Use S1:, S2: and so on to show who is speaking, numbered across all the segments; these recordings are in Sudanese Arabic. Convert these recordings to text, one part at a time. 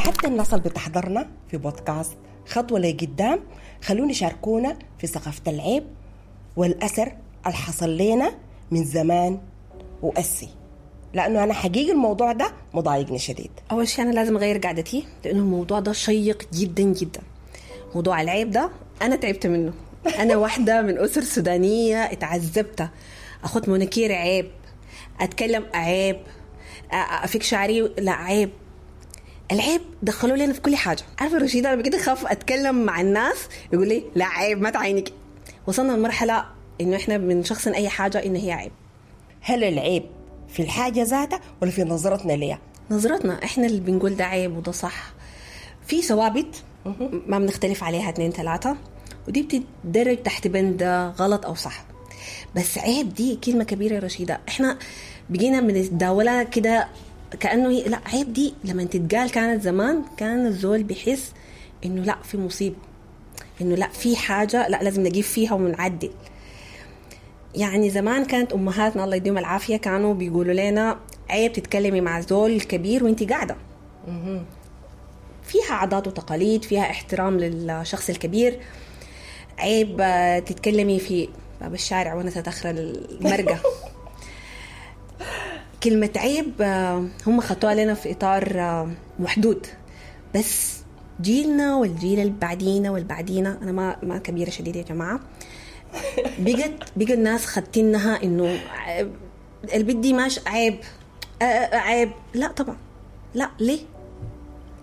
S1: حتى الناس اللي بتحضرنا في بودكاست خطوة لقدام، خلونا يشاركونا في ثقافة العيب والأثر اللي حصل لنا من زمان وأسي، لأنه أنا حقيقي الموضوع ده مضايقني شديد.
S2: أول شيء أنا لازم أغير قعدتي، لأنه الموضوع ده شيق جدا جدا. موضوع العيب ده أنا تعبت منه. أنا واحدة من أسر سودانية اتعذبت، أخذ مناكير عيب، أتكلم عيب، أفك شعري لا عيب. العيب دخلوا لنا في كل حاجة. عارفة رشيدة، أنا بقيت أخاف أتكلم مع الناس يقول لي لا عيب ما تعينك. وصلنا لمرحلة إنه إحنا بنشخصن أي حاجة إنه هي عيب.
S1: هل العيب في الحاجة ذاتها ولا في نظرتنا ليها؟
S2: نظرتنا إحنا اللي بنقول ده عيب وده صح. في ثوابت ما بنختلف عليها 2 3، ودي بتدرج تحت بند غلط أو صح. بس عيب دي كلمة كبيرة يا رشيدة، إحنا بقينا بنتداولها كده كأنه هي لا عيب. دي لما تتقال كانت زمان كان الزول بيحس إنه لا في مصيبة، إنه لا في حاجة لا لازم نجيب فيها ونعدل. يعني زمان كانت أمهاتنا الله يديهم العافية كانوا بيقولوا لنا عيب تتكلمي مع زول الكبير وانتي قاعدة. فيها عادات وتقاليد، فيها احترام للشخص الكبير. عيب تتكلمي في باب الشارع وانا تتأخر المرقة. كلمة عيب هم خطوها لنا في إطار محدود، بس جيلنا والجيل اللي بعدينا والبعدينا، أنا ما كبيرة شديدة يا جماعة، بقى الناس خدتينها إنه البدي ماش عيب عيب. لا طبعا لا، ليه؟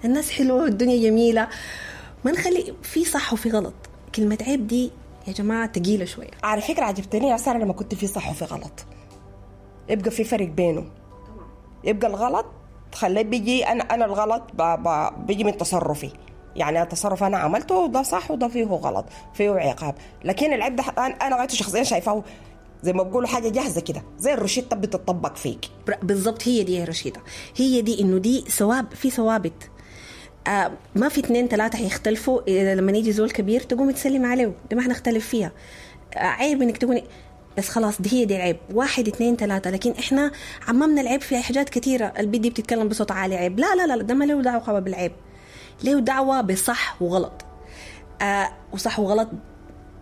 S2: الناس حلوة والدنيا جميلة، ما نخلي في صح وفي غلط. كلمة عيب دي يا جماعة تقيلة شوية.
S1: على فكرة عجبتني يا سارة لما كنت في صح وفي غلط، يبقى في فرق بينه. يبقى الغلط خليه بيجي أنا الغلط بيجي من تصرفي، يعني التصرف أنا عملته ده صح وده فيه غلط، فيه عقاب. لكن العيب ده أنا غايته شخصيا شايفاه زي ما بقولوا حاجة جاهزة كده، زي الروشتة بتطبق فيك.
S2: بالضبط، هي دي يا رشيدة، هي دي إنه دي ثواب، في ثوابت. ما في 2 3 هيختلفوا. لما يجي زول كبير تقوم تسلم عليه، ده ما حنختلف فيها. عيب إنك تقولي بس خلاص دي هي دي العيب، 1 2 3. لكن إحنا عممنا العيب في حاجات كثيرة. البدي بتتكلم بصوت عالي عيب، لا لا لا، ده ما له دعوة بالعيب، له دعوة بصح وغلط. وصح وغلط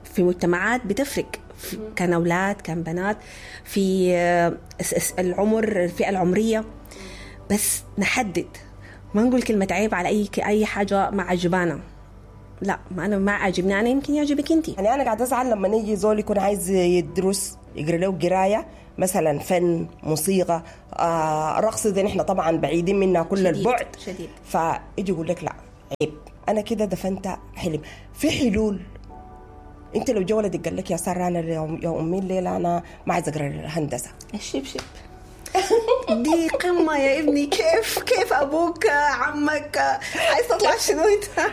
S2: في مجتمعات بتفرق، كان أولاد كان بنات، في العمر، الفئة العمرية. بس نحدد، ما نقول كلمة عيب على أي حاجة ما عجبانا. لا، ما أنا ما عجبني أنا، يمكن يعجبك أنت.
S1: يعني أنا قاعدة أزعل لما نيجي زول يكون عايز يدرس، يقرأ له قراية مثلا فن، موسيقى، رقص، دي نحن طبعا بعيدين منها كل
S2: شديد
S1: البعد،
S2: شديد.
S1: فيجي يقول لك لا عيب، أنا كده دفنت حلم. في حلول. أنت لو جا ولدك قال لك يا سارة أنا يا أمي الليلة أنا ما عايز أقرأ الهندسة،
S2: الشبشب دي قمة يا ابني. كيف أبوك عمك عايز تطلع شنو أنت؟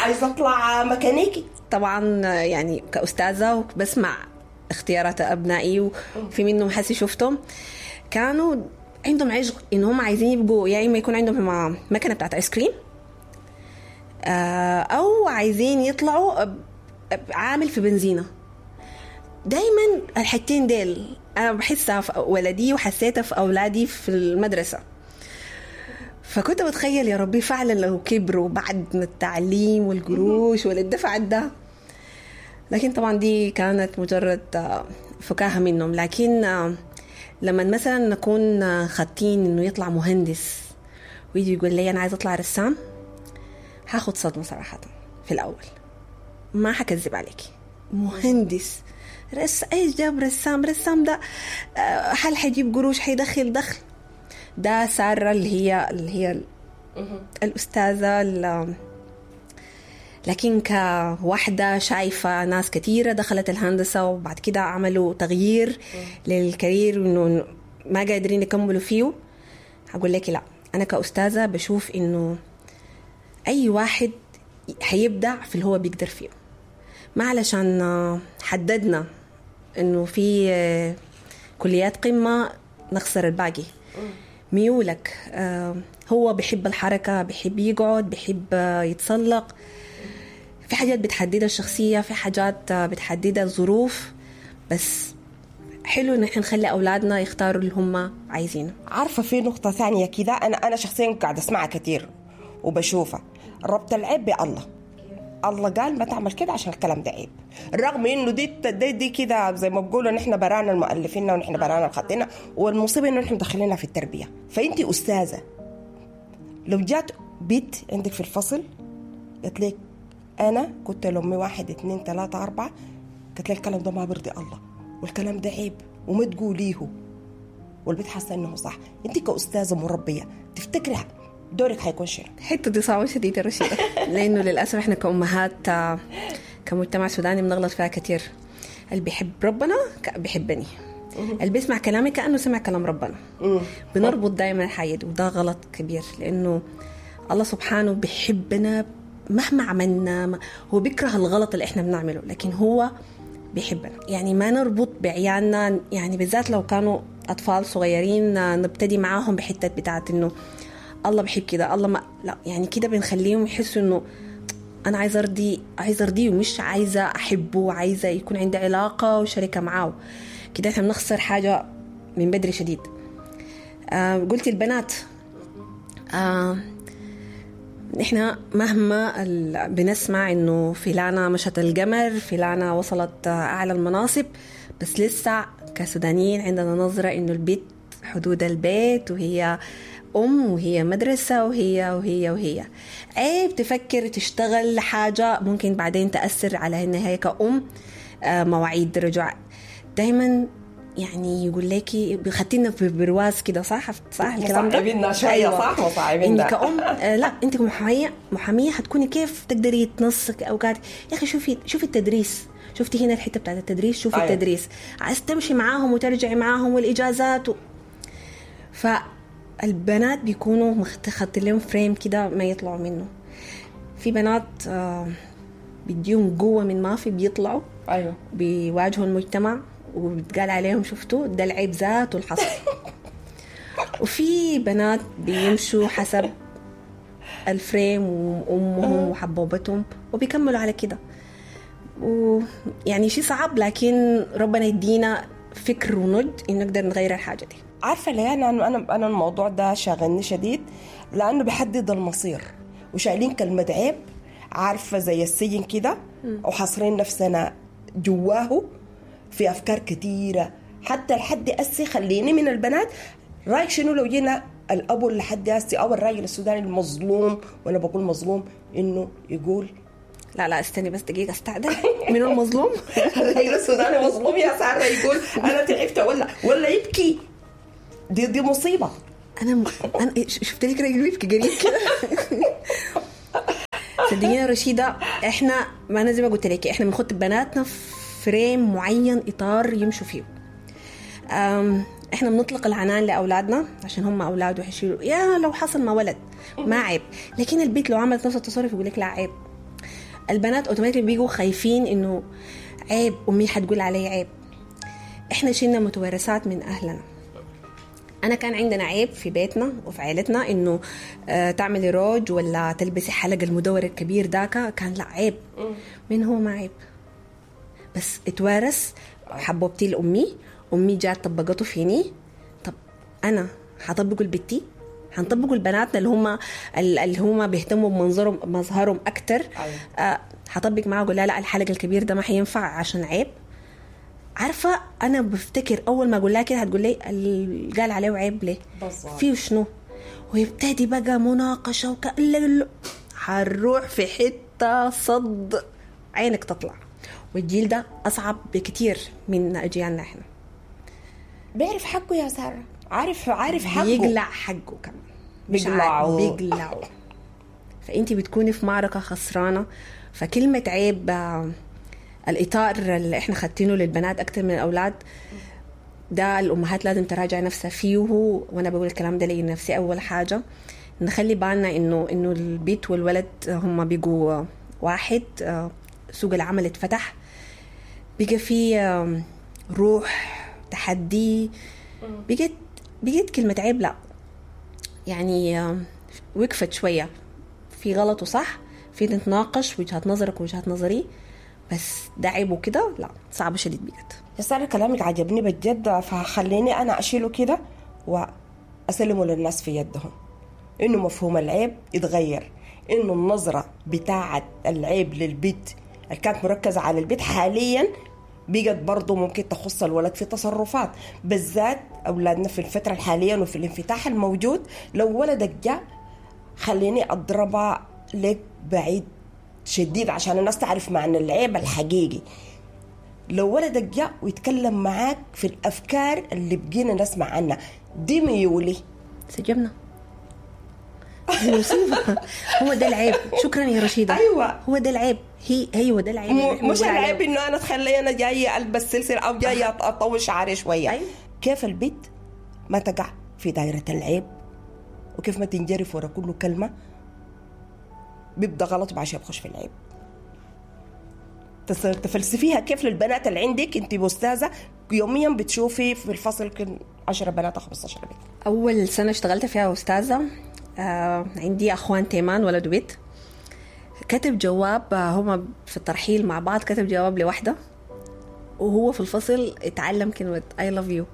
S1: عايز أطلع ميكانيكي.
S2: طبعا يعني كأستاذة بسمع اختيارات أبنائي، وفي منهم حسي شفتهم كانوا عندهم عشق إن هم عايزين يبقوا يا إما يكون عندهم مكنة بتاعت آيس كريم، أو عايزين يطلعوا عامل في بنزينة. دايما الحتين ديل أنا بحسها في ولدي وحسيتها في أولادي في المدرسة. فكنت بتخيل يا ربي فعلا لو كبروا بعد من التعليم والقروش والدفع ده. لكن طبعا دي كانت مجرد فكاهة منهم. لكن لما مثلا نكون خاطين إنه يطلع مهندس ويجي يقول لي أنا عايز أطلع رسام، هاخد صدمة صراحة في الأول، ما حكذب عليكي. مهندس ايش جاب رسام؟ رسام ده هل حيجيب قروش؟ حيدخل دخل؟ ده سارة اللي هي الأستاذة. لكن كواحدة شايفة ناس كثيرة دخلت الهندسة وبعد كده عملوا تغيير للكارير وإنه ما قادرين يكملوا فيه، هقول لك لا، أنا كأستاذة بشوف إنه أي واحد حيبدع في اللي هو بيقدر فيه. ما علشان حددنا إنه في كليات قمة نخسر الباقي. ميولك، هو بيحب الحركة، بيحب يقعد، بيحب يتسلق. في حاجات بتحددها الشخصية، في حاجات بتحددها الظروف. بس حلو إن إحنا نخلي أولادنا يختاروا اللي هم عايزينه.
S1: عارفة في نقطة ثانية كده أنا شخصيا قاعدة أسمعها كتير، وبشوفها، ربط العيب بالله. الله قال ما تعمل كده عشان الكلام ده عيب، رغم انه دي كده زي ما بقولوا نحن برانا المؤلفين ونحن برانا الخاطئين، والمصيبة انه نحن مدخلينها في التربية. فانت استاذه لو جات بنت عندك في الفصل قالت لك انا كنت لامي 1 2 3 4، قالت لك الكلام ده ما بيرضي الله والكلام ده عيب وما تقوليه، والبنت حاسه انه صح، انت كاستاذه مربيه تفتكري دورك حيكون شنو؟
S2: الحتة دي صعبة شديدة رشيده، لانه للاسف احنا كامهات كمجتمع سوداني بنغلط فيها كثير. اللي بيحب ربنا بيحبني، اللي بيسمع كلامي كانه سمع كلام ربنا. بنربط دائما الحاجة دي، وده غلط كبير، لانه الله سبحانه بيحبنا مهما عملنا، هو بيكره الغلط اللي احنا بنعمله، لكن هو بيحبنا. يعني ما نربط بعيالنا، يعني بالذات لو كانوا اطفال صغيرين نبتدي معاهم بحته بتاعت انه الله بحب كده، الله ما لا، يعني كده بنخليهم يحسوا انه انا عايزه ارضي، عايزه ارضية ومش عايزه احبه، وعايزه يكون عندي علاقة وشركه معاه. كده احنا بنخسر حاجة من بدري شديد. قلتي البنات، احنا مهما بنسمع انه فلانه مشت القمر، فلانه وصلت اعلى المناصب، بس لسه كسودانيين عندنا نظره انه البيت حدود البيت، وهي أم وهي مدرسة وهي وهي وهي. عيب تفكر تشتغل حاجة ممكن بعدين تأثر على إنها هي كأم، مواعيد رجوع دايما، يعني يقول لك خدتينا في برواز كده، صح صح الكلام ده؟
S1: مصعبيننا شوية. أيوة. صح مصعبيننا.
S2: إنك كأم لا أنت كمحامية، محامية حتكوني كيف تقدري تنسق أوقات. يا أخي شوفي التدريس، شفتي هنا الحتة بتاعت التدريس، شوفي أيوة. التدريس عايز تمشي معاهم وترجعي معاهم والإجازات فالبنات بيكونوا خدت لهم فريم كده ما يطلعوا منه. في بنات بيديهم قوة من ما في، بيطلعوا
S1: أيوة.
S2: بيواجهوا المجتمع وبتقال عليهم شفتوا ده العيب ذاته الحصل. وفي بنات بيمشوا حسب الفريم وأمهم وحبوبتهم وبيكملوا على كده، ويعني شيء صعب، لكن ربنا يدينا فكر ونضج إن نقدر نغير الحاجة دي.
S1: عارفة ليه أنا الموضوع ده شاغلني شديد، لأنه بيحدد المصير، وشايلين كلمة عيب، عارفة زي السجن كده، وحاصرين نفسنا جواه في أفكار كثيرة. حتى لحد أسي خليني من البنات، رأيك شنو لو جينا الأبو لحد أسي أو الراجل السوداني المظلوم، وأنا بقول مظلوم، إنه يقول
S2: لا استني بس دقيقة استعدل، من المظلوم؟
S1: الراجل السوداني مظلوم يا سارة، يقول أنا تعبت ولا يبكي، دي مصيبة.
S2: أنا شفت لك راجل بيبكي قريب كده. صدقيني يا رشيدة، إحنا ما أنا زي ما قلت لك إحنا بنخط بناتنا فريم معين، إطار يمشوا فيه. إحنا بنطلق العنان لأولادنا عشان هم أولاد وحشيلوا، يا لو حصل ما ولد ما عيب، لكن البيت لو عملت نفس التصرف يقول لك لا عيب. البنات أوتوماتيك بيجوا خايفين إنه عيب، أمي حتقول علي عيب. إحنا شلنا متوارثات من أهلنا. أنا كان عندنا عيب في بيتنا وفي عائلتنا إنه تعملي روج ولا تلبسي حلق المدور الكبير داك، كان لا عيب. من هو ما عيب، بس اتوارث حبوبتي لأمي، أمي جات طبقته فيني. طب أنا هطبقه لبنتي، هنطبقه لبناتنا اللي هم بيهتموا بمنظرهم مظهرهم أكتر. هطبق معاه أقول لا الحلق الكبير ده ما حينفع عشان عيب. عارفة أنا بفتكر أول ما أقول لها كده هتقول لي قال عليه عيب ليه؟ فيه شنو؟ ويبتدي بقى مناقشة هنروح في حتة صد عينك تطلع. والجيل ده أصعب بكتير من أجيالنا. إحنا
S1: بيعرف حقه يا سارة، عارف حقه،
S2: بيقلع حقه كمان، بيقلعه. فأنت بتكوني في معركة خسرانة. فكلمة عيب، الإطار اللي إحنا خدتينه للبنات أكتر من الأولاد ده الأمهات لازم تراجع نفسها فيه. وأنا بقول الكلام ده لنفسي. أول حاجة نخلي بالنا إنه البيت والولد هم بيجوا واحد. سوق العمل اتفتح، بقى في روح تحدي، بقت كلمة عيب لا، يعني وقفت شوية في غلط وصح، في نتناقش وجهات نظرك ووجهات نظري، بس ده عيب وكده لا، صعب شديد بجد.
S1: يا سارة كلامك عجبني بجد، فخليني أنا أشيله كده وأسلمه للناس في يدهم. انه مفهوم العيب يتغير، انه النظرة بتاعه العيب للبيت اللي كانت مركزه على البيت حاليا بقت برضه ممكن تخص الولد في تصرفات، بالذات اولادنا في الفترة الحالية وفي الانفتاح الموجود. لو ولدك جاء، خليني اضربها لك بعيد شديد عشان الناس تعرف معنى العيب الحقيقي. لو ولدك جاء ويتكلم معاك في الافكار اللي بقينا نسمع عنها دي، ميولي.
S2: سجبنا، دي مصيبة. هو ده العيب. شكرا يا رشيدة.
S1: أيوة.
S2: هو ده العيب. هي ايوه، ده العيب اللي إحنا
S1: مش
S2: بنقول عليه.
S1: العيب انه انا تخلي انا جاية البس سلسلة او جاية اطول شعري شويه. كيف البيت ما تقع في دائرة العيب، وكيف ما تنجرف ورا كل كلمة بيبدا غلط وبعد شوية بخش في العيب. تفلسفيها كيف للبنات اللي عندك؟ انت استاذه، يوميا بتشوفي في الفصل يمكن 10 بنات او 15 بنت.
S2: أول سنة اشتغلت فيها أستاذة، عندي أخوان تيمان، ولد وبنت. كتب جواب، هما في الترحيل مع بعض، كتب جواب لوحدة وهو في الفصل اتعلم كلمة I love you،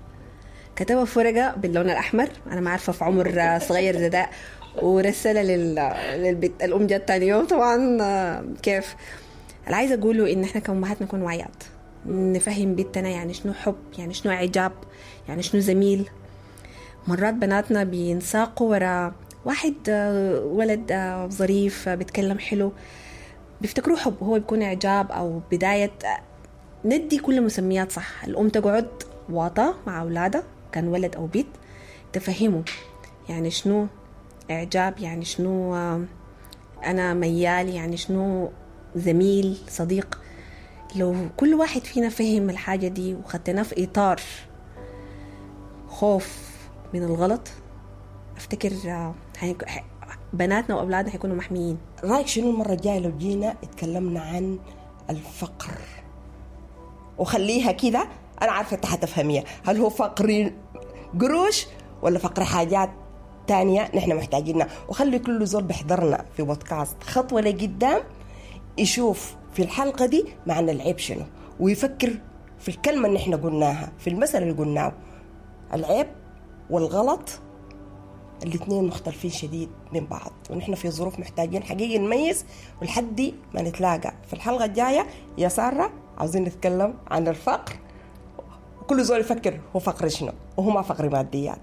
S2: كتبها في ورقة باللون الأحمر، أنا ما عارفة في عمر صغير زي ده، ورسلها للبيت. الأم جت تاني يوم طبعا. كيف؟ اللي عايزة أقوله إن إحنا كأمهات نكون واعيات، نفهم بنتنا يعني شنو حب، يعني شنو إعجاب، يعني شنو زميل. مرات بناتنا بينساقوا ورا واحد، ولد ظريف، بيتكلم حلو، بيفتكروه حب، هو بيكون إعجاب أو بداية. ندي كل مسميات صح. الأم تقعد واطة مع أولادها، كان ولد أو بنت، تفهمه يعني شنو إعجاب، يعني شنو أنا ميال، يعني شنو زميل، صديق. لو كل واحد فينا فهم الحاجة دي وخدناه في إطار خوف من الغلط، افتكر بناتنا واولادنا حيكونوا محميين.
S1: رايك شنو المرة الجاية لو جينا اتكلمنا عن الفقر؟ وخليها كده، انا عارفه انت حتفهميها، هل هو فقر قروش ولا فقر حاجات تانية نحن محتاجينها؟ وخلي كل زول بيحضرنا في بودكاست خطوة لقدام يشوف في الحلقة دي معنى العيب شنو، ويفكر في الكلمة اللي نحن قلناها، في المثل اللي قلناه. العيب والغلط الاثنين مختلفين شديد من بعض، ونحن في ظروف محتاجين حقيقي نميز. ولحد ما نتلاقى في الحلقة الجاية يا سارة، عاوزين نتكلم عن الفقر، وكل زول يفكر هو فقر شنو، وهو ما فقر ماديات.